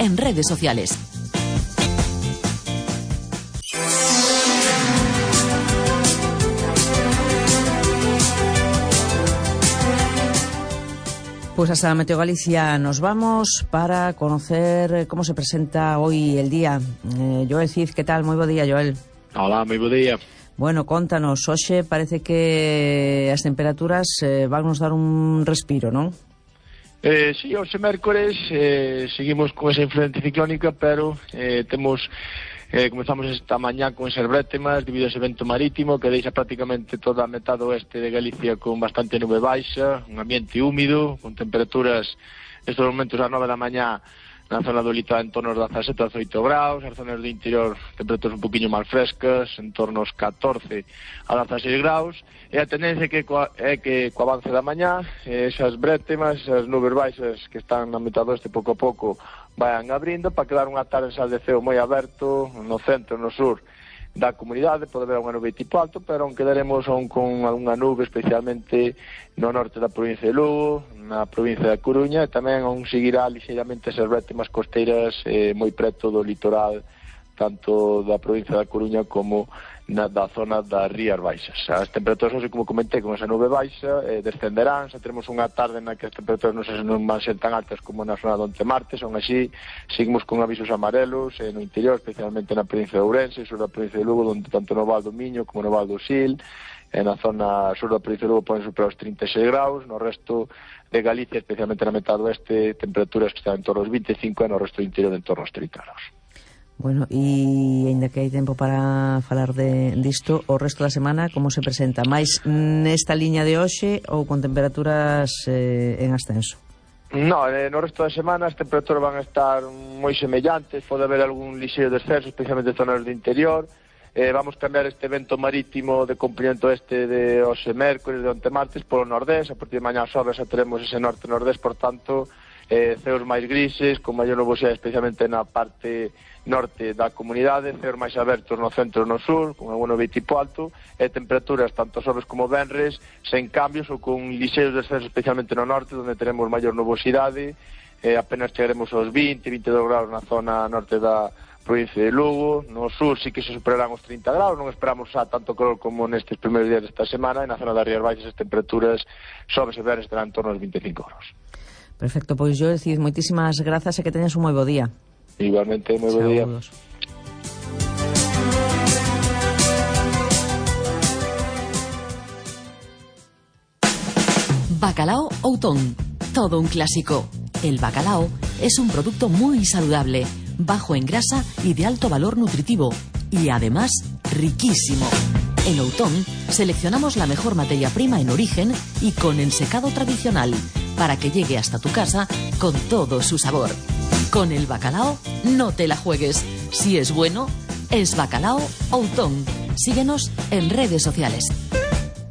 en redes sociales. Pues hasta Meteo Galicia nos vamos para conocer cómo se presenta hoy el día. Joel Cid, ¿qué tal? Moi bo día, Joel. Hola, moi bo día. Bueno, contanos, hoxe parece que as temperaturas van nos dar un respiro, non? Sí, hoxe mércores seguimos con esa influencia ciclónica, pero comezamos esta mañá con esas brétemas debido a ese vento marítimo que deixa prácticamente toda a metade oeste de Galicia con bastante nube baixa, un ambiente húmido, con temperaturas estes momentos ás 9 da mañá na zona do litoral en torno aos 17 a 18 graus, as zonas do interior temperaturas un poquinho máis frescas, en torno aos 14 a 16 graus, e a tendencia é que co avance da mañá esas brétemas, esas nubes baixas que están na metade oeste pouco a pouco vayan abrindo para quedar unha tarde de ceo moi aberto no centro, no sur da comunidade. Pode haber unha nube tipo alto, pero aún quedaremos con algunha nube especialmente no norte da provincia de Lugo, na provincia da Coruña, e tamén aún seguirá lixeiramente esas brétemas costeiras moi preto do litoral, tanto da provincia da Coruña como da zona das Rías Baixas. As temperaturas, como comentei, con esa nube baixa descenderán, xa teremos unha tarde na que as temperaturas non van ser tan altas como na zona do Onte Martes, aún así seguimos con avisos amarelos no interior, especialmente na provincia de Ourense, sur da provincia de Lugo, onde tanto no Val do Miño como no Val do Sil, na zona sur da provincia de Lugo poden superar os 36 graus, no resto de Galicia, especialmente na metade oeste, temperaturas que están en torno aos 25 e no resto do interior en torno aos 30 graus. Bueno, e ainda que hai tempo para falar disto, o resto da semana como se presenta? Mais nesta liña de hoxe ou con temperaturas en ascenso? No, no resto da semana as temperaturas van a estar moi semellantes, pode haber algún lixeiro descenso, especialmente en zonas do interior. Vamos cambiar este vento marítimo de comprimento este de hoxe mércores, de onte martes, polo nordés. A partir de mañá xoves xa teremos ese norte-nordés, por tanto, ceos máis grises, con maior nubosidade, especialmente na parte norte da comunidade, ceos máis abertos no centro e no sur, con algún nube tipo alto, e temperaturas tanto xoves como venres sen cambios ou con lixeiros descensos, especialmente no norte, onde teremos maior nubosidade, apenas chegaremos aos 20-22 graus na zona norte da provincia de Lugo. No sur sí que se superarán os 30 graus, non esperamos xa tanto calor como nestes primeiros días desta semana, e na zona das Rías Baixas as temperaturas xoves e venres estarán en torno aos 25 graus. Perfecto, pois yo decid, moitísimas grazas e que teñas un moi bo día. Igualmente, moi bo día. Bacalao Outón, todo un clásico. El bacalao es un producto muy saludable, bajo en grasa y de alto valor nutritivo, y además riquísimo. En Outón seleccionamos la mejor materia prima en origen y con ensecado tradicional, para que llegue hasta tu casa con todo su sabor. Con el bacalao no te la juegues. Si es bueno, es Bacalao Outón. Síguenos en redes sociales.